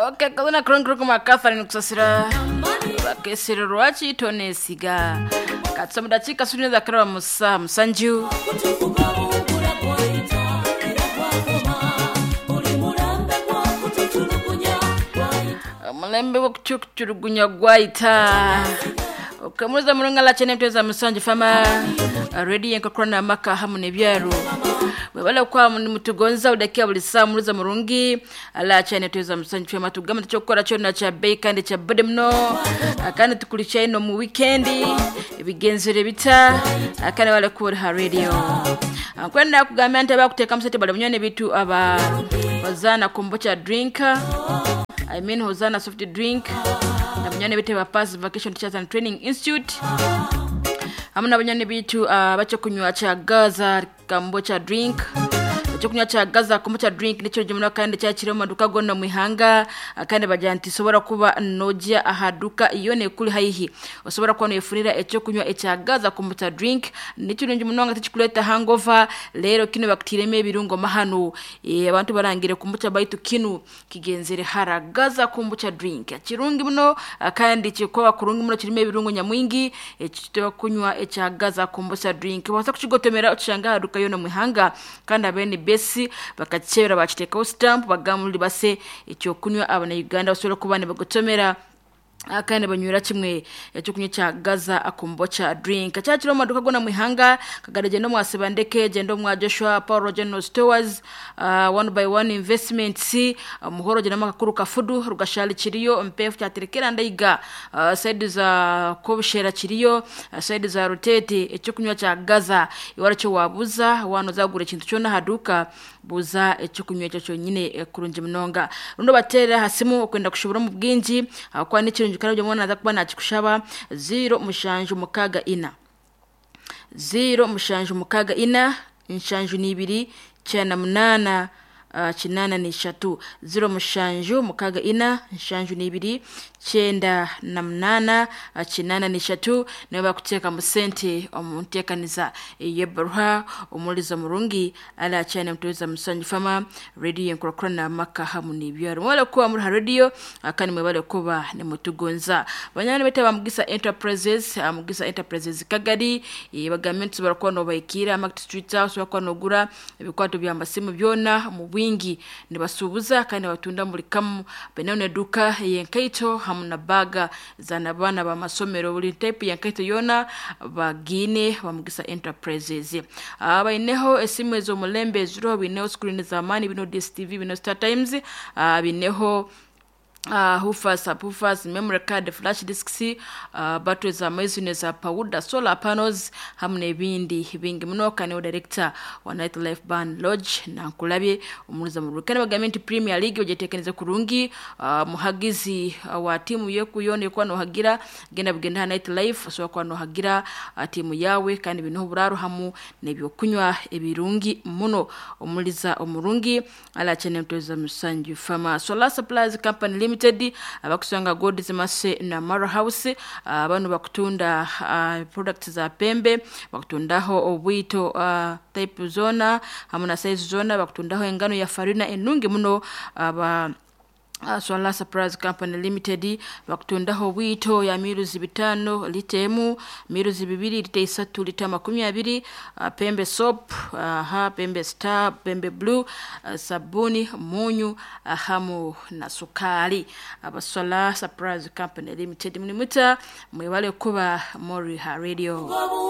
Okay, kazona kurungi Catherine Kusasira bakesero lwaki tonesiga katusoma dakika suni za karaba musa musanju. Omulembe gw'okukyukukyurugunya gwayita okamuza murunga la chene mteza musanju fama radio enkakurana amaka hamu n'ebyaro webale kwa mutugonza udakia buli saa muruza murungi ala chene tuweza musanju fama tugamba tukyokukora kyona kya bei kandi kya bode muno kandi tukulikya ino mu weekendi ebigenzere bita kandi wale kuba ha radio kwenda kugambira nti abakuteekamu sente bali munywani bitu aba Hozana kombucha drink, I mean Hozana soft drink, na banywani bitu aba Pass Vacation Teachers and Training Institute hamwe na banywani bitu bakyokunywa kya Gaza kombucha drink. Ekyokunywa kya Gaza kombucha drink nikyo muno kandi kyakiri omu maduka gonna mu ihanga, kandi bagira nti sobola kuba nojya aha duka iyo nekuli haihi osobola kuba noyefunira ekyokunywa ekya Gaza kombucha drink. Nikirungi munonga tikikuleta hangover. Lero kino bakutiremu ebirungo mahanu, abantu barangire kombucha baitu kinu kigenzere hara. Gaza kombucha drink kirungi muno, kandi kikoba kurungi muno, kirimo ebirungo nyamwingi. Ekyo kunywa ekya Gaza kombucha drink wasa kukigotomera okishanga aha duka yona mu ihanga, kandi abene besi bakakibera bakiteekaho stamp bagamuli base ekyokunywa abana Uganda basobole kuba nibagotomera kandi banywera kimwe ekyokunywa kya Gaza kombucha drink. Kyakiri omu maduka gona mu ihanga kagare genda omwa Sebandeke, genda omwa Joshua Paul General Stores, One by One Investments, Muhoro genda makakuru kafudu rugashali kiriyo mpefu kyaterekera ndaiga, side za Kobushera kiriyo, side za Rutete. Ekyokunywa kya Gaza iwara kyo wabuza wano zagura ekintu kyona haduka buza ekyokunywa ekyo kyonyine kurungi munonga. Rundo batera hasimu okwenda kushubura mu bwingi kwa nikirungi kandi mwana aza kuba nakikushaba 0 mushanju mukaga ina 0 mushanju mukaga ina nshanju nibiri cyana munana kinana ni shatu 0 mushanju mukaga ina nshanju nibiri cyenda na munana kinana ni shatu. Niwe bakuteka mu sente omuntekaniza yebaruha omuliza murungi ala cyane mtuweza musanju fama radio enkurakura maka hamu n'ibyaro mwale kuba muri ha radio kandi mwebale kuba ni mutugonza banyana bete bamugisa Enterprises. Mugisa Enterprises Kagari bagamye nti barakuba no bayikira Market Street House bakuba nogura ebikwato bya masimu byona mu bwingi nibasubuza kandi batunda muri kamu benone duka yenkaito hamu na baga zana bana ba masomero buli type yankaito yona bagine bamugisa Enterprises. Abaineho esimu ezo mulembe ziro bineho screen za mani bino DSTV bino Star Times, bineho hufa subwoofers, memory card, flash disks, batteries za maizune za powder, solar panels hamwe n'ebindi bingi muno. Kandi director wa Night Life Band Lodge nankulabye omuliza mu Rukana bagamye nti Premier League ojetekeneze kurungi, muhagizi wa timu yeku yone kwa nohagira genda bugenda Night Life so kwa nohagira timu yawe kandi bino buraro hamu n'ebyokunywa ebirungi muno omuliza omurungi ala chene mtoza musanju fama. Solar Supplies Company Limited abakusanga God's Mercy na Mara House, abantu bakutunda products za pembe bakutundaho obwito type zona hamwe na size zona bakutundaho engano ya farina enungi muno aba Solar Supplies Company Limited bakutundaho bwito ya miruzi 5 lita emu miruzi 2 lita 3 lita 20, pembe soap, pembe star, pembe blue, sabuni, munyu, hamu na sukari. Aba Solar Supplies Company Limited mnimuta mwebale kuba Mori ha radio.